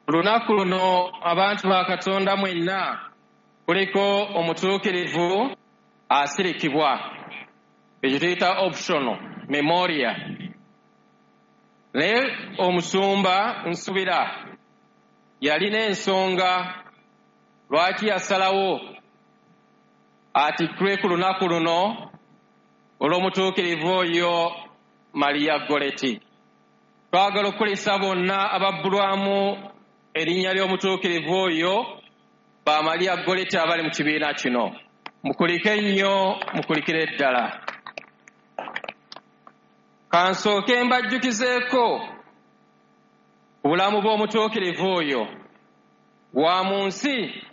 Lunaku luno, abantu ba Katonda mwenna, kuliko omutuukirivu asirikibwa, ekyo tuyita optional memoria. Naye omusumba nsubira yalina ensonga lwaki yasalawo atikkirwe ku lunaku luno olw'omutuukirivu oyo Maria Goleti. Twagala okukulisa bonna ababbulwamu erinnya ly'omutuukirivu oyo ba Maria Goleti abali mu kibiina kino. Mukulike nnyo, mukulikire ddala. Kansooke mbajjukizeeko ku bulamu bw'omutuukirivu oyo wa mu nsi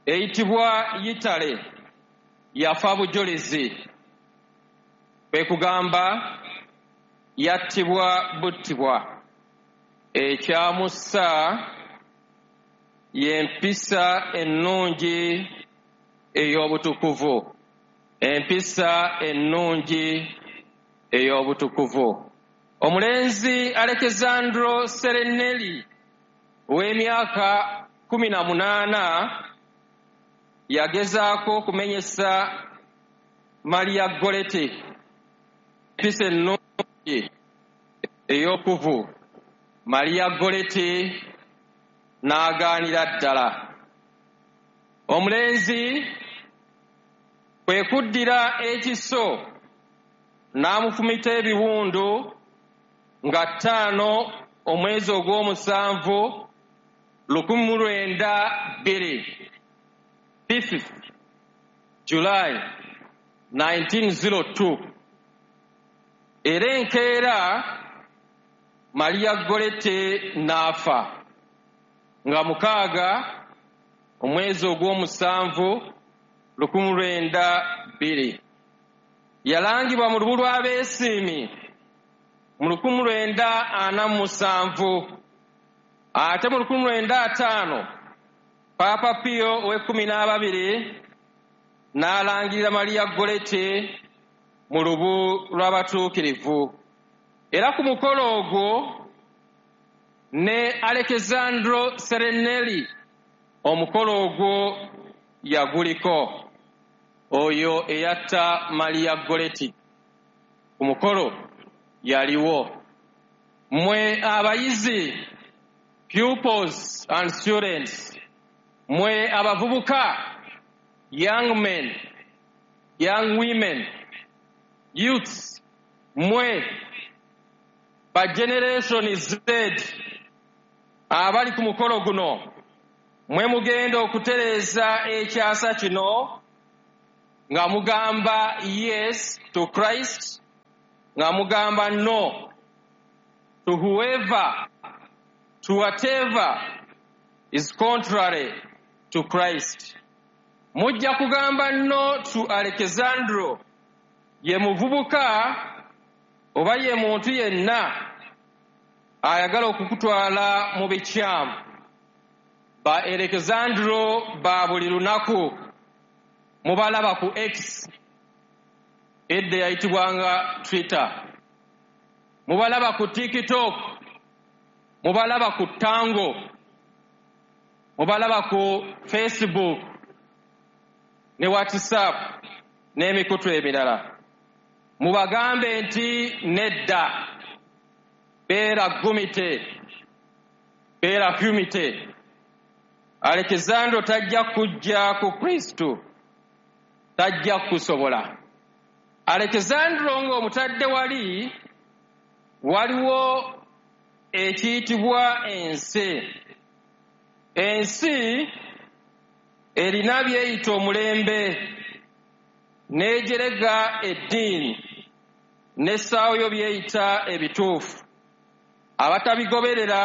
eyitibwa Yitale. Yafa bujulizi, kwe kugamba yattibwa buttibwa. Ekyamussa y'empisa ennungi ey'obutukuvu, empisa ennungi ey'obutukuvu. Omulenzi Alexandro Serenelli ow'emyaka 18 yagezaako okumenyesa Maria Goleti empisa ennungi ey'okuvu. Maria Goleti n'agaanira ddala. Omulenzi kwe kuddira ekiso n'amufumita ebiwundu nga 5 omwezi ogw'omusanvu 1902, 5 July 1902. Era enkeera Maria Golete n'afa nga 6 omwezi ogw'omusanvu 1902. Yalangibwa mu lubu lw'abeesiimi mu 1947, ate mu 1950 Paapa Pio ow'ekkumi n'ababiri n'alangirira Maria Golete mu lubu lw'abatuukirivu. Era ku mukolo ogwo ne Alexandro Serenelli omukolo ogwo yaguliko, oyo eyatta Maria Goleti ku mukolo yaliwo. Mmwe abayizi, pupils and students, mmwe abavubuka, young men, young women, youths, mmwe ba Generation Z abali ku mukolo guno, mwe mugenda okutereeza ekyasa kino nga mugamba yes to Christ, nga mugamba no to whoever, to whatever is contrary to Christ. Mujja kugamba no to Alexandro, ye muvubuka oba ye muntu yenna ayagala okukutwala mu bikyamu. Ba Alexandro ba buli lunaku mubalaba ku X, edda yayitibwanga Twitter, mubalaba ku TikTok, mubalaba ku Tango, mubalaba ku Facebook ne WhatsApp n'emikutu emirala. Mubagambe nti nedda. Beera gumite, beera humite. Alexandro tajja kujja ku Kristo, tajja kusobola. Alexandro ng'omutadde wali, waliwo ekiyitibwa ensi. Ensi erina byeyita omulembe, n'ejerega eddiini n'essaawo byeyita ebituufu. Abatabigoberera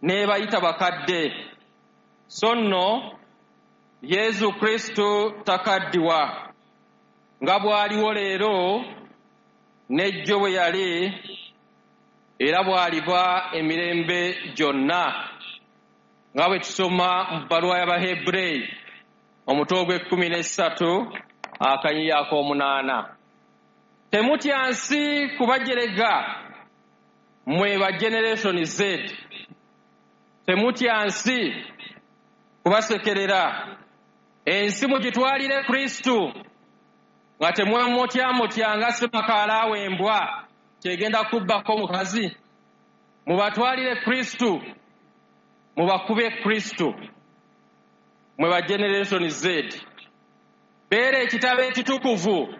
n'ebayita bakadde. So nno Yesu Kristo takaddiwa, nga bw'aliwo leero n'ejjo bwe yali, era bw'aliba emirembe gyonna, nga bwe tusoma mu bbaluwa y'Abahebureyi omutwe ogw'e13 akanyiyo ak'omunaana. Temutya nsi kubajerega, mmwe ba Generation Z. Temutya nsi kubasekerera. Ensi mugitwalire Kristo nga temwemutyamutya nga ssemakaala w'embwa kyegenda kubbako mukazi. Mubatwalire Kristo, mubakube Kristo. Mwe ba Generation Z, beera ekitabo ekitukuvu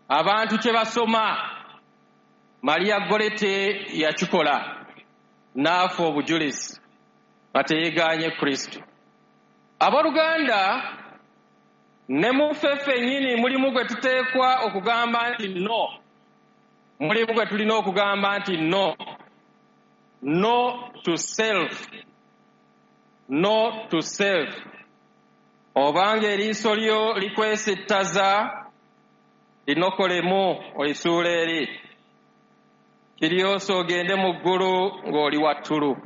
abantu kye basoma. Maria Gorete yakikola n'afa obujulizi nga teyegaanye Kristo. Abooluganda, ne mu ffe ffennyini mulimu gwe tuteekwa okugamba nti no, mulimu gwe tulina okugamba nti no. No to self, no to self. Obanga eriiso lyo likwesittaza, linokolemu olisuula eri, kiryose ogende mu ggulu ng'oli wattulu.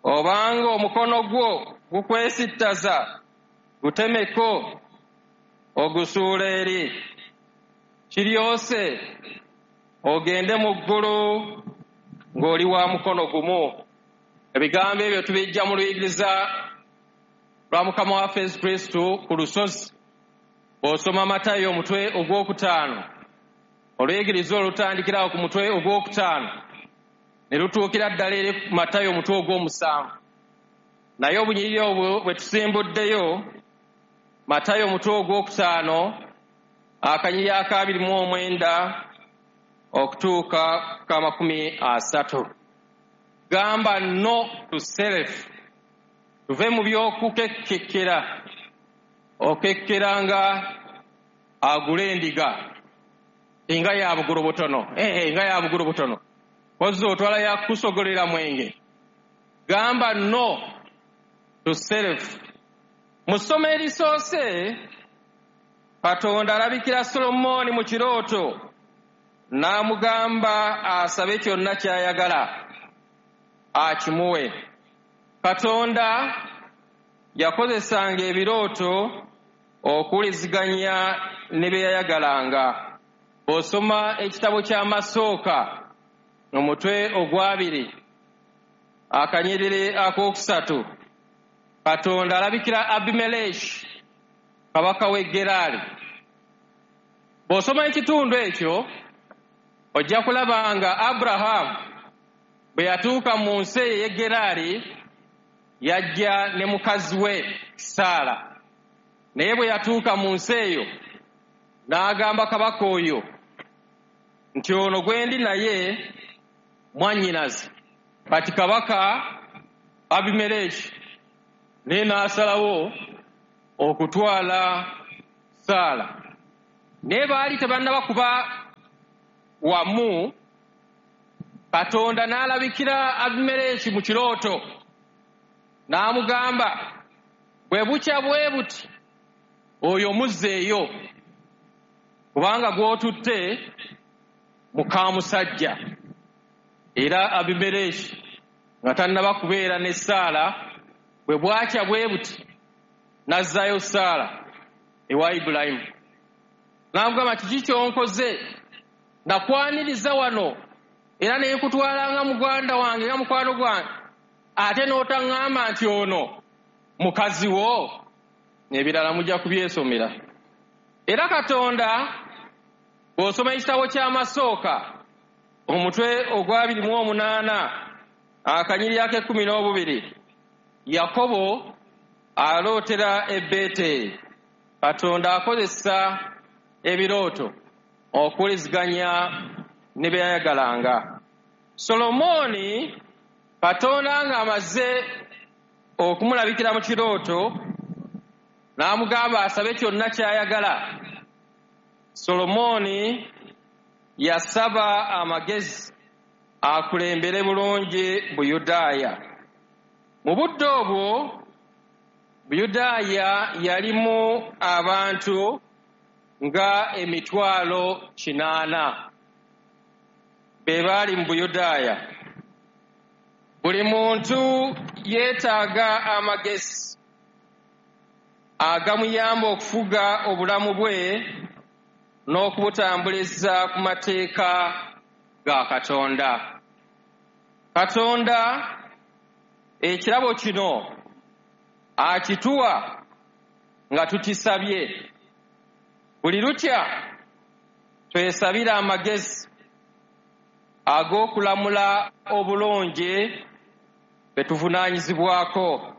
Obanga omukono gwo gukwesittaza, gutemeko ogusuula eri, kiryose ogende mu ggulu ng'oli wa mukono gumu. Ebigambo ebyo tubijja mu luyigiriza lwa Mukama waffe Yesu Kristo ku lusozi. Bw'osoma Matayo omutwe ogwokutaano, oluyigiriza olutandikirawo ku mutwe ogwokutaano ne lutuukira ddala eri Matayo omutwe ogw'omusanvu. Naye obunyiriri obwo bwe tusimbuddeyo, Matayo omutwe ogwokutaano akanyiriri ak'abiri mu omwenda okutuuka ku 30. Gamba no to self. Tuve mu by'okukekkekera, okekkera nga agula endiga nga ya bugulu butono, nga ya bugulu butono, kozza otwala yakusogolera mwenge. Gamba no to self. Mu ssomo erisoose, Katonda alabikira Solomooni mu kirooto n'amugamba asabe kyonna ky'ayagala akimuwe. Katonda yakozesanga ebirooto okuwuliziganya ne bye yayagalanga. Bw'osoma ekitabo ky'Amasooka omutwe ogwabiri akanyiriri akokusatu, Katonda alabikira Abimeleki kabaka w'e Gerari. Bw'osoma ekitundu ekyo ojja kulaba nga Aburahamu bwe yatuuka mu nsi eyo ey'e Gerari yajja ne mukazi we Saala. Naye bwe yatuuka mu nsi eyo n'agamba kabaka oyo nti ono gwe ndi naye mwannyinaze. Kati kabaka Abimeleki naye n'asalawo okutwala Saala. Naye baali tebannaba kuba wamu, Katonda n'alabikira Abimeleki mu kirooto n'amugamba bwe bukya bwe buti oyo muzzeeyo, kubanga gw'otutte mukamusajja. Era Abimeleki nga tannaba kubeera ne Saala, bwe bwakya bwe buti n'azzaayo Saala ewa Ibulayimu. N'amugamba kiki ky'onkoze? Nakwaniriza wano era ne nkutwala nga muganda wange, nga mukwano gwange, ate n'otaŋŋamba nti ono mukazi wo. Ebirala mujja kubyesomera. Era Katonda bw'osoma ekitabo ky'Amasooka omutwe ogw'28 akanyiriri ak'e12, Yakobo alootera e Beeteri. Katonda akozesa ebirooto okuwuliziganya ne bye yayagalanga. Solomooni Katonda ng'amaze okumulabikira mu kirooto n'amugamba asabe kyonna ky'ayagala, Solomooni yasaba amagezi akulembere bulungi Buyudaaya. Mu budde obwo Buyudaaya yalimu abantu nga 800,000 be baali mu Buyudaaya. Buli muntu yeetaaga amagezi agamuyamba okufuga obulamu bwe n'okubutambuliza ku mateeka ga Katonda. Katonda Ekirabo kino akituwa nga tukisabye. Buli lukya twesabire amagezi ag'okulamula obulungi be tuvunaanyizibwako.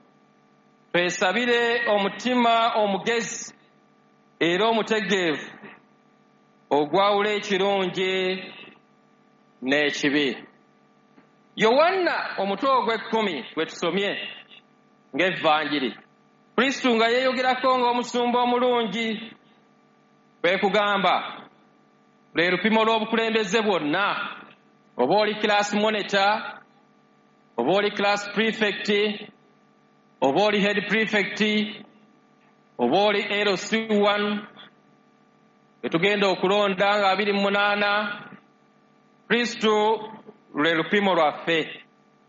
Twesabire omutima omugezi era omutegeevu ogwawula ekirungi n'ekibi. Yowanna omutwe ogw'ekkumi gwe tusomye ng'evvanjiri, Kristo nga yeeyogerako ng'omusumba omulungi, kwe kugamba lwe lupimo lw'obukulembeze bwonna. Oba oli class monitor, oba oli class prefect, oba oli head prefect, oba oli LC1, bwe tugenda okulonda nga 28, Kristo lwe lupimo lwaffe.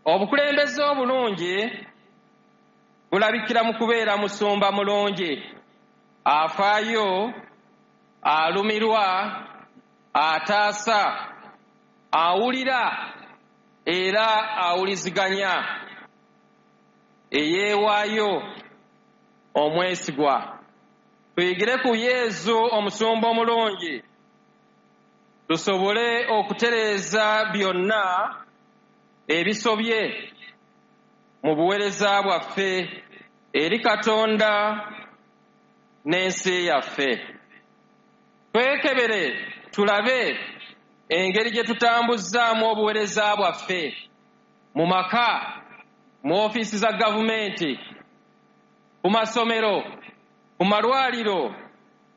Obukulembeze obulungi bulabikira mu kubeera musumba mulungi, afaayo, alumirwa, ataasa, awulira era awuliziganya, eyeewaayo, omwesigwa. Tuyigire ku Yezu omusumba omulungi, tusobole okutereeza byonna ebisobye mu buweereza bwaffe eri Katonda n'ensi yaffe. Twekebere tulabe engeri gye tutambuzzaamu obuweereza bwaffe mu maka, mu ofiisi za gavumenti, ku masomero, ku malwaliro,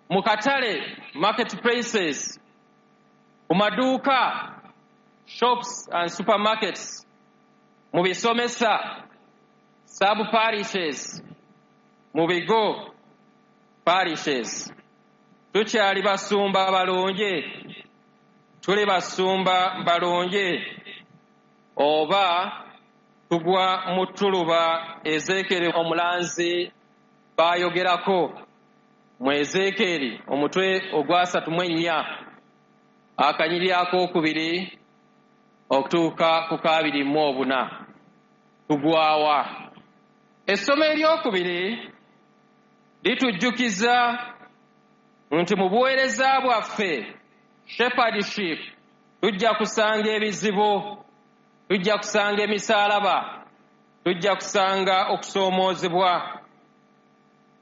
mu katale, market places, ku maduuka, shops and supermarkets, mu bisomesa, sub parishes, mu bigo parishes. Tukyali basumba balungi, tuli basumba balungi, oba tugwa mu ttuluba Ezeekeri omulanzi baayogerako mu Ezeekeri omutwe ogwa 34 akanyiriri akookubiri okutuuka ku 24. Tugwawa. Essomo eryokubiri litujjukiza nti mu buweereza bwaffe shepherdship tujja kusanga ebizibu, tujja kusanga emisaalaba, tujja kusanga okusoomoozebwa,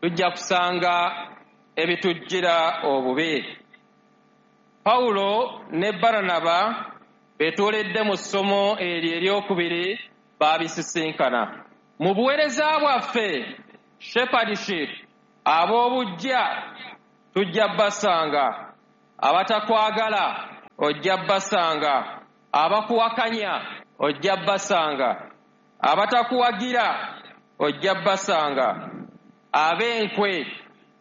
tujja kusanga ebitujjira obubi. Pawulo ne Baranaba beetooledde mu ssomo eryo eryokubiri baabisisinkana. Mu buweereza bwaffe shepherdship ab'obuggya tujja basanga, abatakwagala ojja basanga, abakuwakanya ojja basanga, abatakuwagira ojja basanga, ab'enkwe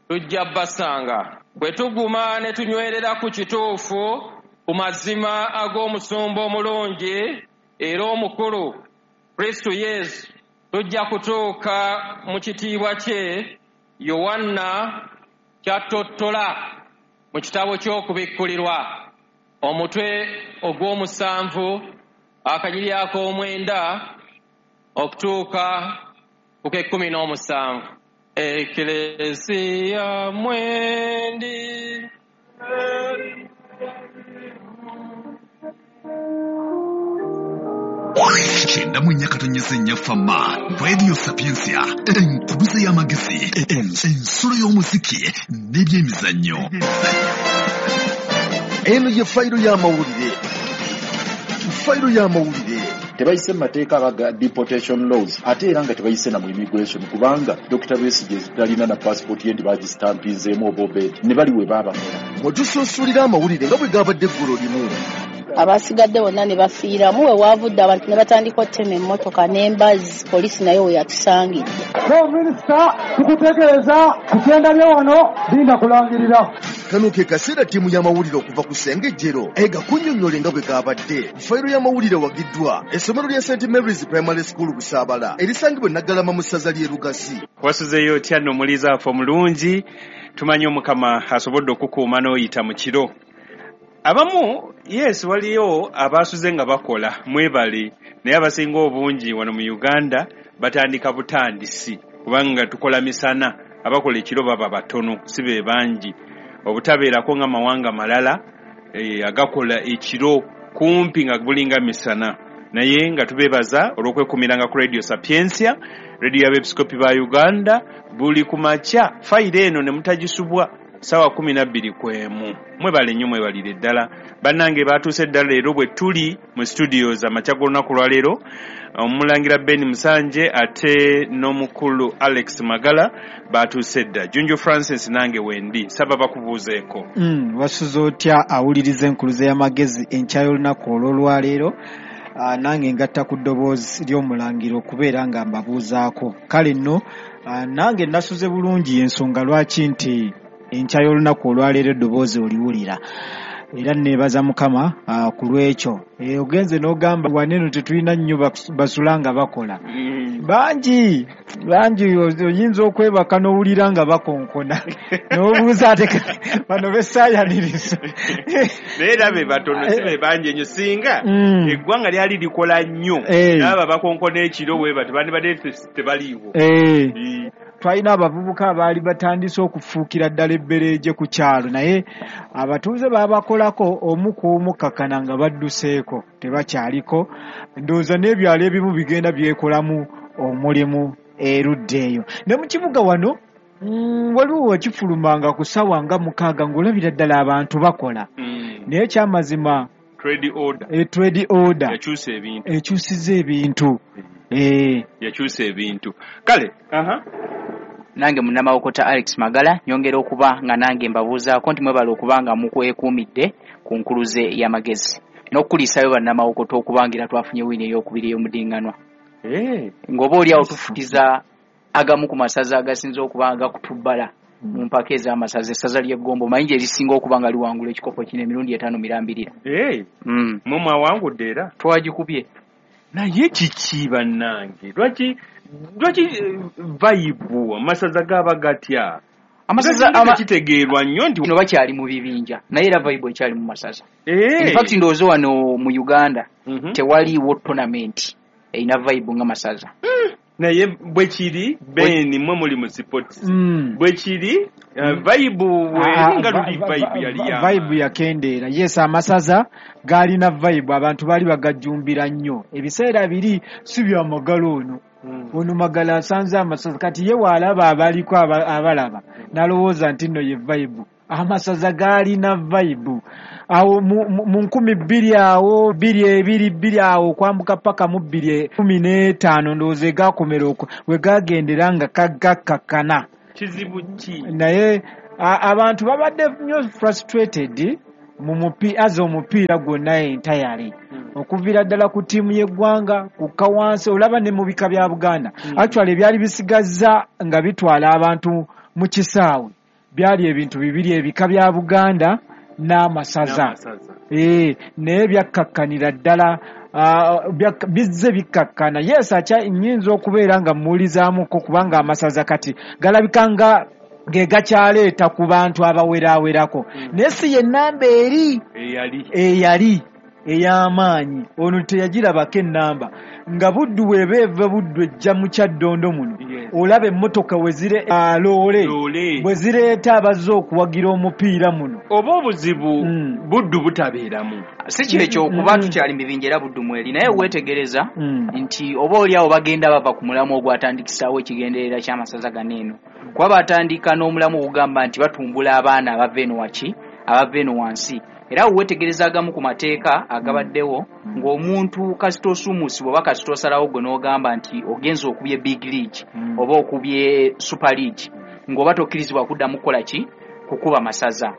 tujja basanga. Bwe tuguma ne tunywerera ku kituufu, ku mazima ag'omusumba omulungi era omukulu Kristo Yesu, tujja kutuuka mu kitiibwa kye Yowanna kyatottola mu kitabo ky'okubikkulirwa omutwe ogw'omusanvu akanyiriri ak'omwenda okutuuka ku k'ekkumi n'omusanvu. Eklezia mwendi 94.4 Fama Radio Sapientia, enkubuza y'amagezi, ensulo y'omuziki n'ebyemizannyo. Eno ye fayiro y'amawulire. Fayiro y'amawulire. Tebayise mu mateeka abaga deportation laws, ate era nga tebayise na mu immigration, kubanga Dr. Besigye talina na passport ye nti bagisitampinzeemu oba obedi ne bali we baabakola. Mwe amawulire nga bwe gabadde eggulo limu. Abasigadde bonna ne bafiiramu, we waavudde abantu ne batandika ottema emmotoka n'embazzi, poliisi nayo we yatusangidde. Minisita tukutegeeza ku kyenda wano linda kulangirira. Kano ke kaseera ttiimu y'amawulire okuva ku Ssengejjero egakunnyonnyole nga bwe gabadde. Fayiro y'amawulire wagiddwa essomero lya St Mary's Primary School Busaabala erisangibwa e Naggalama mu ssaza ly'e Lugazi. Wasuzeeyo otya nno omuliiza waffe omulungi? Tumanyi Omukama asobodde okukuuma n'oyita mu kiro. Abamu yes waliyo abaasuze nga bakola mwebale, naye abasinga obungi wano mu Uganda Batandika butandisi kubanga tukola misana, abakola ekiro baba batono, si be bangi. Obutabeerako nga mawanga malala agakola ekiro kumpi nga bulinga misana. Naye nga tubeebaza olw'okwekumiranga ku Radio Sapientia, radio y'abeepiskopi ba Uganda, buli ku makya fayiro eno ne mutagisubwa ssaawa 12 ku emu. Mwebale nnyo, mwebalire ddala bannange. Batuuse ddala leero bwe tuli mu studios amakya g'olunaku lwaleero, omulangira Ben Musanje ate n'omukulu Alex Magala batuuse dda. Junju Francis nange wendi, nsaba bakubuuzeeko. Wasuze otya awuliriza enkuluze y'amagezi enkya y'olunaku olw'olwaleero? Nange ngatta ku ddoboozi ly'omulangira okubeera nga mbabuuzaako. Kale nno, nange nasuze bulungi, ensonga lwaki nti enkya y'olunaku olwaleero eddoboozi oliwulira, era neebaza Mukama ku lwekyo. Ogenze n'ogamba waneeno tetulina nnyo basula nga bakola. Bangi bangi, oyinza okwebaka n'owulira nga bakonkona n'obuuza ate bano besaayaniriza. Naye era be batono, si be bangi ennyo. Singa eggwanga lyali likola nnyo, naaba bakonkona ekiro bwe bati bandibadde tebaliiwo. Twalina abavubuka abaali batandise okufuukira ddala ebbereeje ku kyalo, naye abatuuze baabakolako omu ku omu kakkana nga badduseeko, tebakyaliko. Ndowooza n'ebyalo ebimu bigenda byekolamu omulimu erudda eyo. Ne mu kibuga wano, waliwo wekifulumanga ku ssaawa nga 6 ng'olabira ddala abantu bakola. Naye ekyamazima, trade order, trade order yakyusa ebintu. Ekyusiza ebintu. Yakyusa ebintu, kale aha. Nange munnamawokota Alex Magala nyongera okuba nga nange mbabuuzaako nti mwebale okuba nga mukwekuumidde ku nkuluze y'amagezi n'okukuliisayo bannamawokota okuba nga era twafunye wiini ey'okubiri ey'omudinganwa, ng'oba oli awo tufutiza agamu ku masaza agasinze okuba nga gakutubbala mu mpaka ez'amasaza. Essaza ly'Eggombo omanyi gye lisinga okuba nga liwangula ekikopo kino emirundi 5 mirambirira. Mwe mwawangudde era? Twagikubye. Naye kiki bannange, lwaki vibe amasaza gaba gatya? Amasaza kitegeerwa nnyo nti no bakyali mu bibinja, naye era vibe ekyali mu masaza. In fact, ndowooza wano mu Uganda tewaliiwo tournament erina vibe nga masaza. Naye bwe kiri, Ben, mwe muli mu sports, bwe kiri, vibe nga luli vibe yali ya Vibe yakendeera, yes. Amasaza gaalina vibe, abantu baali bagajjumbira nnyo ebiseera biri. Si byamagala ono, ono Magala asanze amasaza, kati ye waalaba abaliko abalaba n'alowooza nti nno ye vibe. Amasaza gaalina vibe awo mu 2000 awo, 2022 awo, okwambuka paka mu 2015, ndowooza egakomera okwo we gagendera nga gakkakkana. Kizibu ki? Naye abantu babadde nnyo frustrated mu aza omupiira gwonna entirely, okuviira ddala ku ttiimu y'eggwanga kukka wansi, olaba ne mu bika bya Buganda. Actually, ebyali bisigazza nga bitwala abantu mu kisaawe byali ebintu bibiri: ebika bya Buganda n'amasaza. N'amasaza. Naye byakkakkanira ddala, bizze bikkakkana. Yes, akya nnyinza okubeera nga mmuwulizaamuko, kubanga amasaza kati galabika nga ge gakyaleeta ku bantu abawerawerako, naye si ye nnamba eri eyali eyali ey'amaanyi. Ono teyagirabako ennamba nga Buddu bw'eba eva Buddu ejja mu Kyaddondo muno, olaba emmotoka wezire loole Loole. bwe zireeta abazze okuwagira omupiira muno. Oba obuzibu Buddu butabeeramu? Si kyekyo, okuba tukyali mu bibinja, era Buddu mweri, naye weetegereza nti oba oli awo bagenda bava ku mulamu ogwatandikisaawo ekigenderera ky'amasaza gano eno, kuba batandika n'omulamu ogugamba nti batumbula abaana abava eno waki, abava eno wansi. Era awo weetegereza agamu ku mateeka agabaddewo, ng'omuntu kasita osuumuusibwa oba kasita osalawo gwe n'ogamba nti ogenza okubye big league oba okubye super league, ng'oba tokkirizibwa kuddamu kukola ki, kukuba masaza.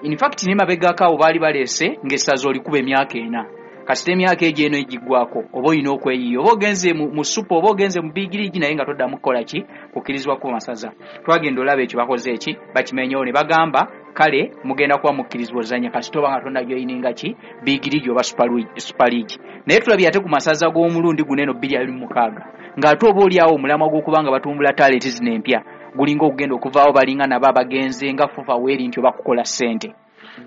In fact, ne mabegako awo baali baleese ng'essaza olikuba emyaka 4. Kasita emyaka egyo eno egiggwako, oba olina okweyiiya, oba ogenze mu super oba ogenze mu big league, naye nga toddamu kukola ki, kukkirizibwa kuba masaza. Twagenda olaba ekyo bakoze eki, bakimenyewo ne bagamba kale mugenda kuba mukkirizibwa ozannya kasita oba nga tonnajoyininga ki, big league oba super league. Naye tulabye ate ku masaza g'omulundi guno eno 2026, ng'ate oba oli awo omulamwa gw'okuba nga batumbula talenti zino empya gulinga okugenda okuvaawo, balinga nabo abagenze nga FUFA weeri nti oba kukola ssente.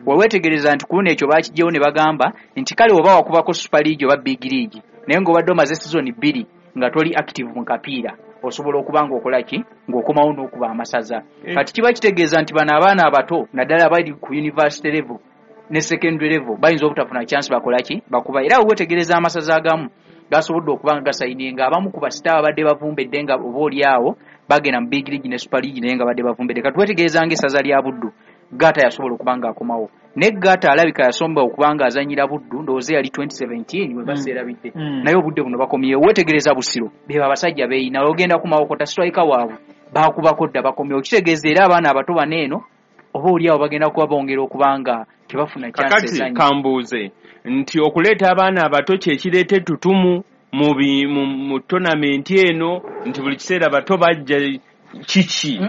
Weweetegereza nti ku luno ekyo bakiggyewo ne bagamba nti kale oba wakubako super league oba big league, naye ng'obadde omaze sizoni 2. nga toli active mu kapiira osobola okuba ng'okola ki, ng'okomawo n'okuba amasaza. Kati kiba kitegeeza nti bano abaana abato naddala abali ku university level ne secondary level bayinza obutafuna chance bakola ki, bakuba. Era weetegereza amasaza agamu gasobodde okuba nga gasayininga abamu ku basita abadde bavumbedde nga oba oli awo bagenda mu big league ne super league naye nga badde bavumbedde. Kati weetegereza ng'essaza lya Buddu, Gata yasobola okuba ng'akomawo, ne Gata alabika yasomba okuba ng'azannyira Buddu, ndowooza yali 2017 we baseerabidde, naye obudde buno bakomyewo. Weetegereza Busiro, be abasajja beeyina, ogenda ku Mawokota striker waabwe baakubako dda, bakomyewo. Kitegeeza era abaana abato bano eno oba oli awo bagenda kuba bongera okuba nga tebafuna chance Kakati ezannya. Kambuuze nti okuleeta abaana abato kye kireeta ettutumu mu tournament eno, nti buli kiseera bato bajja, kiki?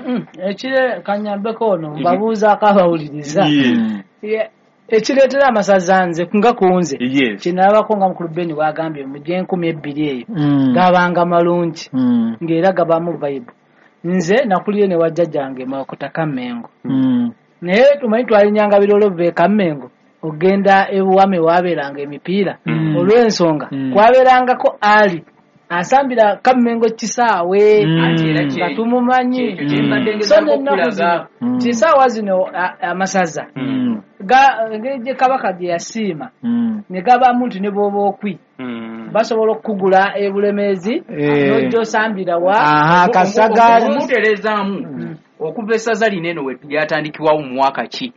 Ekire kanyambeko ono mbabuuzaako abawuliriza. Ekireetera amasaza nze nga ku nze kyenalabako nga mukulu Beni bw'agambye mu gy'enkumi ebbiri eyo gabanga malungi ng'era gabamu vibe. Nze nakulire ne wajjajjange Mawokota Kammengo, naye tumanyi twalinyanga birolo biva e Kammengo ogenda ebuwame waabeeranga emipiira, olw'ensonga kwabeerangako ali asambira Kammengo kisaawe Anti era nga tumumanyi. Kyekyo kye mbadde So ngezaako n'ennaku okulaga. zino kisaawa zino amasaza engeri gye Kabaka gye yasiima ne gabamu nti ne bw'oba okwi basobola okukugula e Bulemeezi n'ojja osambira wa. Aha, Kasagaali. Okumutereezaamu, okuva essaza lino eno we lyatandikibwawo mu mwaka ki,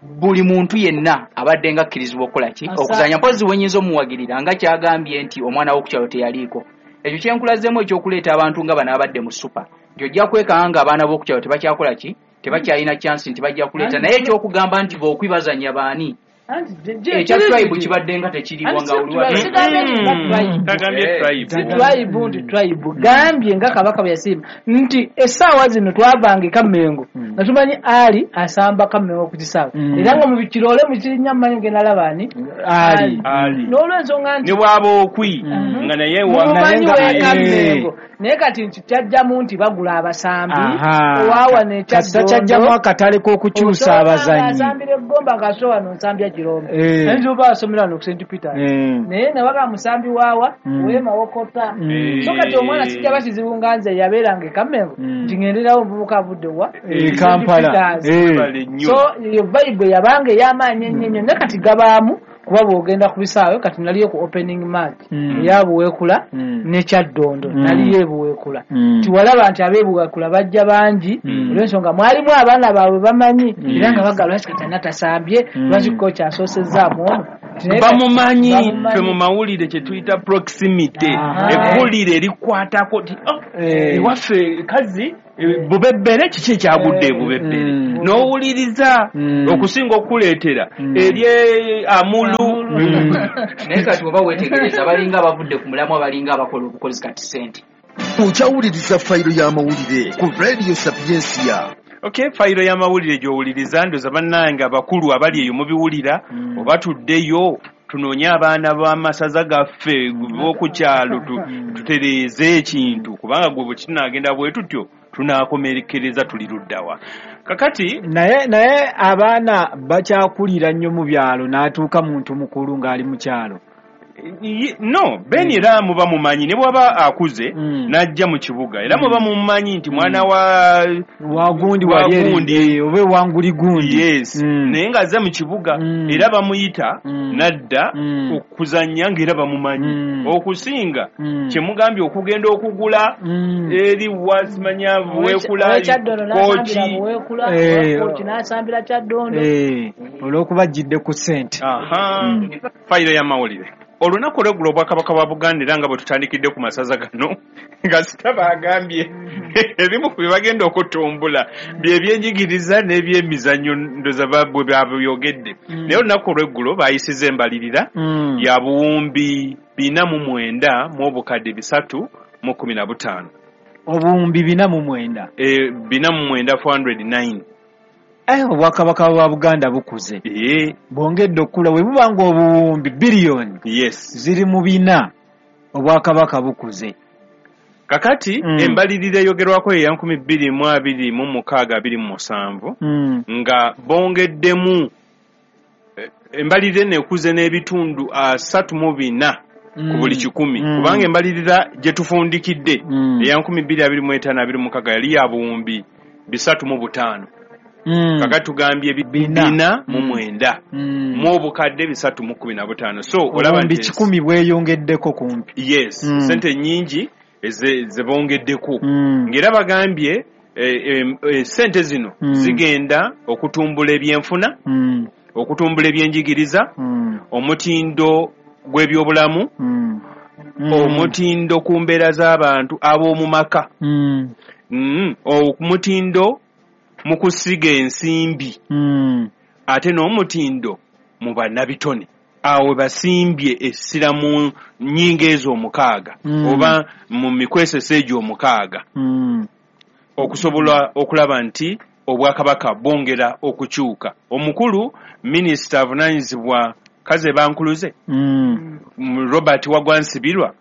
buli muntu yenna abadde nga akkirizibwa okukola ki, okuzanya. Mpozi wenyinza omuwagirira nga kyagambye nti omwana w'okukyalo teyaliiko. Ekyo kyenkulazeemu ekyokuleeta abantu nga bano abadde mu super, nti ojja kwekanga nga abaana b'okukyalo tebakyakola ki, tebakyalina chance nti bajja kuleeta. Naye ekyokugamba nti bookwi bazanya baani, ekya tribe kibadde nga tekiriwo nga Sigambye nti tribe. Tagambye tribe. Si tribe nti tribe, gambye nga Kabaka bwe yasiima nti essaawa zino twavanga e Kammengo nga tumanyi ali asamba Kammengo ku kisaawe, era nga mu bikiroole mukirinnya mumanyi ngenda laba ani. Ali. Ali. N'olwensonga nti Ne bw'aba okwi nga naye mumumanyi Naye nga- w'ekammengo, naye kati nti kyajjamu nti bagula abasambi owaawa Kasita kyajjamu akatale k'okukyusa abazannyi. Asambira eggomba ng'asobola wano nsambya Kirombe, ayinza oba asomera wano ku St Peter, naye nabaga musambi waawa wemawokota. So kati omwana kijja bakizibu nga nze yabeeranga e Kammengo nti ngenderawo omuvubuka avudde wa E St. Kampala. Peters. Bale nnyo. So eyo vibe yabanga ey'amaanyi ennyo ennyo, naye kati gabaamu kuba bw'ogenda ku bisaawe. Kati naliyo ku opening match eya Buweekula ne Kyaddondo, naliyo ebuweekula, tiwalaba nti ab'ebuweekula bajja bangi olw'ensonga mwalimu abaana baabwe bamanyi, era nga bagala lwaki kati ana tasambye, lwaki kocha asoosezaamu ono. Naye kati Bamumanyi. Bamumanyi. Ffe mu mawulire kye tuyita proximity, eggulire erikwatako ti "Oh, ewaffe kazi Bubebbere, kiki ekyagudde e Bubebbere?" N'owuliriza okusinga okukuleetera eri Amulu. Naye kati oba weetegereza balinga abavudde ku mulamwa, balinga abakola obukozi kati sente. Okyawuliriza Fayiro y'amawulire ku Radio Sapiensia. Okay, fayiro y'amawulire gy'owuliriza. Ndoza bannange abakulu abali eyo mubiwulira, oba tuddeyo tunoonye abaana b'amasaza gaffe b'oku kyalo tutereeze ekintu, kubanga gwe bwe kinaagenda bwe tutyo tunaakomekereza tuli luddawa kakati? Naye abaana bakyakulira nnyo mu byalo n'atuuka muntu mukulu ng'ali mu kyalo. No Ben, era muba mumanyi ne bwaba akuze n'ajja mu kibuga, era muba mumanyi nti mwana wa wagundi wa wali eri, gundi. Oba ewanguli gundi. Yes. Naye ng'azze mu kibuga era bamuyita n'adda okuzannya ng'era bamumanyi, okusinga kyemugambye okugenda okugula eri wasimanya Buweekula. Owekyaddondo n'asambira Kooki. Buweekula, Kooki n'asambira Kyaddondo. Olw'okuba ajjidde ku ssente. Aha. Fayiro y'amawulire olunaku olweggulo, Obwakabaka bwa Buganda, era nga bwe tutandikidde ku masaza gano nga sita bagambye ebimu ku bye bagenda okutumbula byebyenjigiriza n'ebyemizannyo, ndoza bwe babyogedde. Naye olunaku olweggulo bayisiza embalirira ya 493,315. Obuwumbi 49. 49, 409. Obwakabaka bwa Buganda bukuze, bwongedde okukula. Bwe buba nga obuwumbi biliyoni ziri mu bina, obwakabaka bukuze. Kakati embalirira eyogerwako eya 2026/27, nga bongeddemu, embalirira eno ekuze n'ebitundu 34. ku buli 100, kubanga embalirira gye tufundikidde eya 2025-26 yali ya buwumbi 305. Kakati tugambye 409 mu obukadde 315. So olaba nti 100 bweyongeddeko kumpi. Yes, sente nnyingi ze bongeddeko. Ng'era bagambye sente zino zigenda okutumbula ebyenfuna, okutumbula ebyenjigiriza, omutindo gw'ebyobulamu, omutindo ku mbeera z'abantu ab'omu maka, omutindo mu kusiga ensimbi, ate n'omutindo mu bannabitone. Awo basimbye essira mu nnyingo ezo 6 oba mu mikwesese egyo 6, okusobola okulaba nti obwakabaka bwongera okukyuka. Omukulu minisita avunaanyizibwa Kaze Bankuluze, Robert Wagwa Nsibirwa,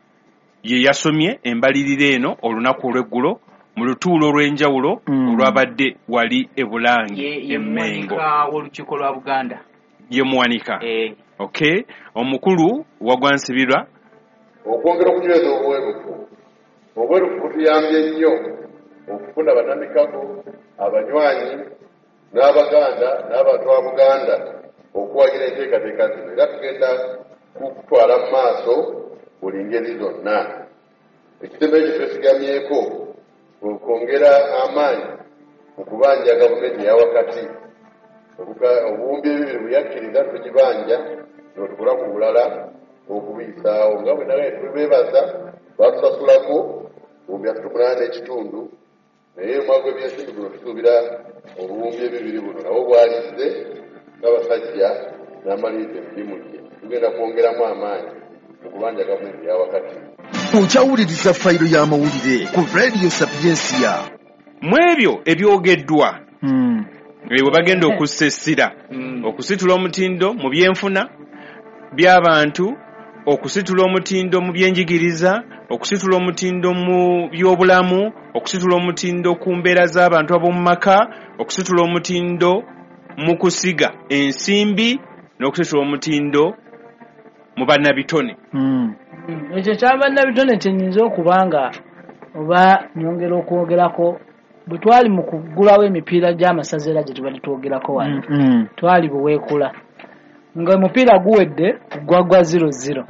ye yasomye embalirira eno olunaku olw'eggulo mu lutuulo olw'enjawulo olwabadde wali e Bulange e Mmengo. W'olukiiko lwa Buganda ye muwanika. Okay, omukulu Wagwa Nsibirwa: okwongera okunyweza obwerufu. Obwerufu butuyambye nnyo okufuna bannamikago, abanywanyi n'Abaganda n'abantu ba Buganda okuwagira enteekateeka zino, era tugenda kutwala mu maaso buli ngeri zonna. Ekisembayo kye twesigamyeko okwongera amaanyi mu kubanja gavumenti eya wakati. Obuwumbi 2 bwe yakkiriza tugibanja ne tukola ku bulala okubiyisaawo, nga bwe nagaye tubeebaza batusasulako 38.5, naye omwaka gw'ebyensimbi guno tusuubira obuwumbi 2 buno nabwo bwalizze ng'abasajja n'amaliriza emirimu gye. Tugenda kwongeramu amaanyi mu kubanja gavumenti eya wakati. Okyawuliriza fayiro y'amawulire ku Radio Sapiensia. Mu ebyo ebyogeddwa, bwe bagenda okussa essira okusitula omutindo mu byenfuna by'abantu, okusitula omutindo mu byenjigiriza, okusitula omutindo mu byobulamu, okusitula omutindo ku mbeera z'abantu ab'omu maka, okusitula omutindo mu kusiga ensimbi, n'okusitula omutindo mu bannabitone. Ekyo kya bannabitone kyenyinza okuba nga oba nyongera okwogerako. Bwe twali mu kuggulawo emipiira gy'amasaza era gye tubadde twogerako wano, twali buweekula nga omupiira guwedde gwagwa 0-0.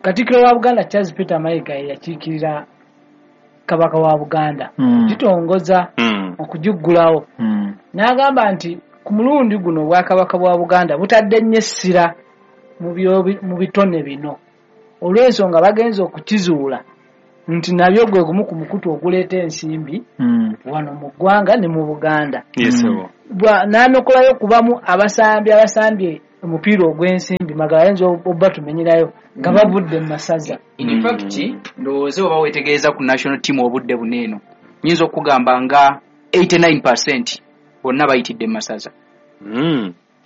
Katikkiro wa Buganda Charles Peter Mayiga ye yakiikirira Kabaka wa Buganda okugitongoza, okugiggulawo, n'agamba nti ku mulundi guno obwakabaka bwa Buganda butadde nnyo essira mu bitone bino, olw'ensonga bagenze okukizuula nti nabyo gwe gumu ku mukutu oguleeta ensimbi wano mu ggwanga ne mu Buganda. N'anokolayo kubamu abasambi abasambye omupiira ogw'ensimbi, Magala ayinza obatumenyerayo nga bavudde mu masaza. In fact, ndowooza oba weetegereza ku national team obudde buno eno, nyinza okugamba nga 89% bonna bayitidde mu masaza.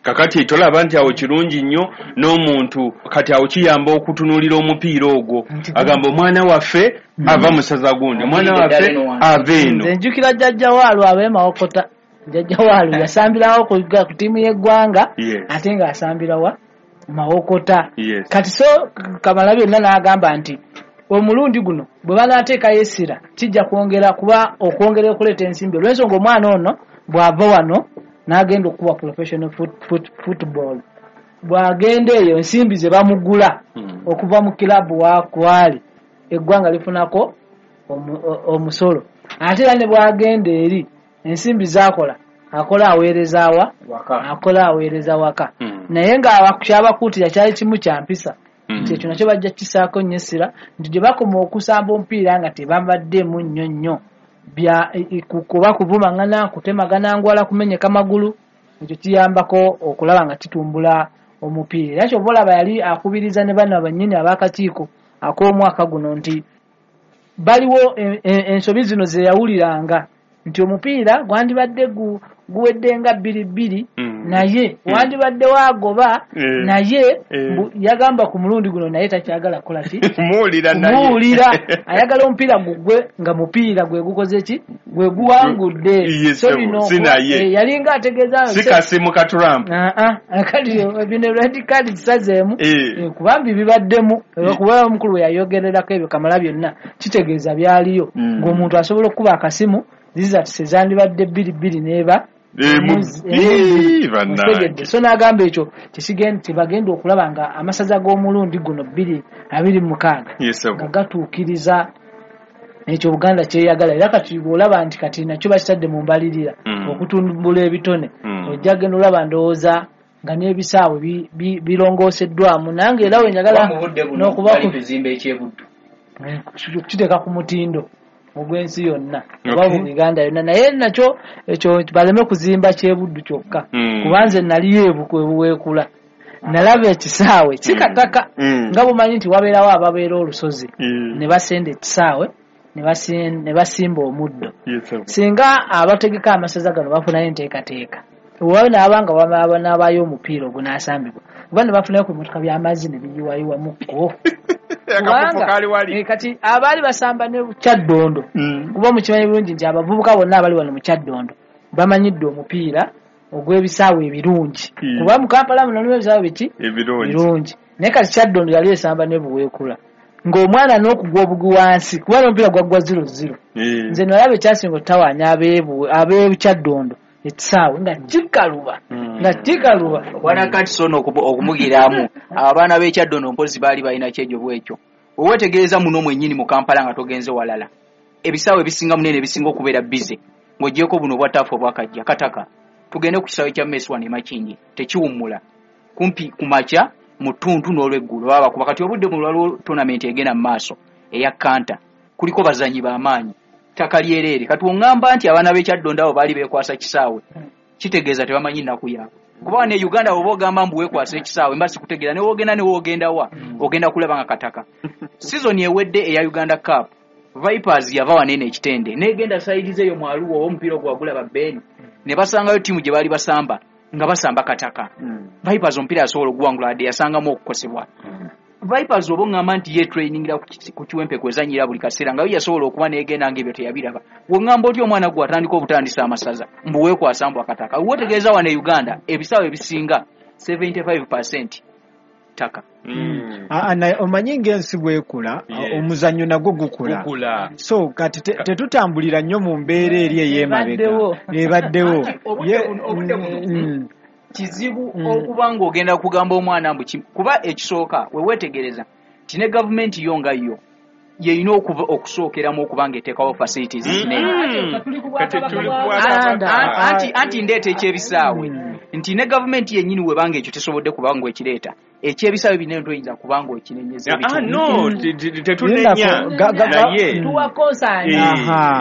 Kakati tolaba nti awo kirungi nnyo n'omuntu kati awo kiyamba okutunuulira omupiira ogwo, agamba omwana waffe ava mu ssaza gundi, omwana waffe ava eno. Nze njjukira jjajja Waalu ab'e Mawokota. Jjajja Waalu yasambirawo ku ttiimu y'eggwanga, ate ng'asambira wa Mawokota. Kati so Kamala byonna n'agamba nti omulundi guno bwe banaateekayo essira kijja kwongera kuba okwongera okuleeta ensimbi, olw'ensonga omwana ono bw'ava wano n'agenda okukuba professional football, bw'agenda eyo ensimbi ze bamugula okuva mu kilabu waali eggwanga lifunako omusolo, ate era ne bw'agenda eri ensimbi z'akola akola aweereza wa akola aweereza waka. Naye nga kyabakuutira kyali kimu kya mpisa, nti ekyo nakyo bajja kisaako nnyo essira, nti gye bakoma okusamba omupiira nga tebambaddemu nnyo nnyo bya kuba kuvumangana, kutemagana ngwala, kumenyeka magulu. Ekyo kiyambako okulaba nga kitumbula omupiira. Era kyova olaba yali akubiriza ne bano bannyini ab'akakiiko ak'omwaka guno nti baliwo ensobi zino ze yawuliranga nti omupiira gwandibadde guwedde nga 2-2 naye wandibadde wagoba naye yagamba ku mulundi guno naye takyagala kukola ki kumuwulira naye kumuwulira ayagala omupiira gugwe nga mupiira gwe gukoze ki gwe guwangudde. So bino yalinga ategeeza si kasimu ka Trump kati bino red card zisazeemu kubambi bibaddemu kuba omukulu we yayogererako ebyo Kamala byonna kitegeeza byaliyo ng'omuntu asobola okukuba akasimu zizatise zandibadde 2-2 n'eba so n'agamba ekyo tebagenda okulaba nga amasaza g'omulundi guno 2026 nga gatuukiriza ekyo Buganda kyeyagala. Era kati bw'olaba nti kati nakyo bakitadde mu mbalirira okutumbula ebitone ojja genda olaba ndowooza nga n'ebisaawe birongooseddwamu nange era we njagala n'okuba kuzimba ekyebuddu kiteeka ku mutindo ogw'ensi yonna oba mu Uganda yonna naye nakyo ekyo baleme kuzimba kyebuddu kyokka kubanze naliyo ebuweekula nalaba ekisaawe kikataka nga bumanyi nti wabeerawo ababeera olusozi ne basenda ekisaawe ne basimba omuddo. Singa abategeka amasaza gano bafunayo enteekateeka oba naabanga n'abaayo omupiira ogunaasambibwa oba ne bafunayo ku bimotoka by'amazzi ne biyiwayiwamukko kati abaali basamba ne Kyaddondo kuba mukimanyi bulungi nti abavubuka bonna abali wano mu Kyaddondo bamanyidde omupiira ogw'ebisaawe ebirungi kuba mu Kampala muno mulimu ebisaawe biki ebirungi naye kati Kyaddondo yali esamba ne Buweekula ng'omwana n'okugwa obugwi wansi kuba n'omupiira gwaggwa 0-0. Nze nalaba ekyasinga okutawaanya ab'e Kyaddondo ekisaawe nga kikaluba nga kikaluba. Bwana kati sono okumugiramu abaana b'e Kyaddondo mpozi baali balina kyejo bwekyo wewetegereza muno mwennyini mu Kampala nga togenze walala ebisaawe ebisinga munene ebisinga okubeera bize ng'oggyeko buno obwa taafu obwakajja kataka tugende ku kisaawe kya Messi wano e Makindye tekiwummula kumpi ku makya mu ttuntu n'olweggulo baba bakuba. Kati obudde buno waliwo tournament egenda mu maaso eya Kanta kuliko bazanyi b'amaanyi ttaka lyereere. Kati oŋŋamba nti abaana b'e Kyaddondo abo baali beekwasa kisaawe kitegeeza tebamanyi nnaku yaabwe kuba wano e Uganda bw'oba ogamba mbu weekwasa ekisaawe mba sikutegeera ne woogenda wa ogenda kulaba nga kataka. Sizoni ewedde eya Uganda Cup Vipers yava wano eno ekitende n'egenda sayidize eyo mu Arua oba omupiira ogwagulaba Beni ne basangayo ttiimu gye baali basamba nga basamba kataka. Vipers omupiira yasobola okuwangula wadde yasangamu okukosebwa. Vipers oba oŋŋamba nti ye trainingira ku Kiwempe kwezannyira buli kaseera nga yo yasobola okuba n'egenda ng'ebyo teyabiraba. W'oŋŋamba otya omwana gwe atandika obutandisa amasaza mbu weekwasa mbu akataka. Weetegereza wano e Uganda ebisaawe ebisinga 75% ttaka. Omanyi ng'ensi bwekula omuzannyo nagwo gukula so kati tetutambulira nnyo mu mbeera eri ey'emabega ebaddewo. Obudde buno kizibu okuba ng'ogenda kugamba omwana mbu kuba ekisooka weweetegereza nti ne gavumenti yo nga yo yeyina okusookeramu okuba ng'eteekawo facilities zinene. Anti ndeeta ekyebisaawe nti ne gavumenti yennyini webanga ekyo tesobodde kuba ng'ekireeta ekyebisaawe binene toyinza kuba ng'okinenyeza. No, tetunenya naye tuwa konsaani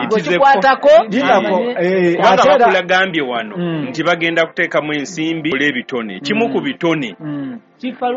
gwekikwatako kubanga bakulagambye wano nti bagenda kuteekamu ensimbi ebitone kimu ku bitone kifa.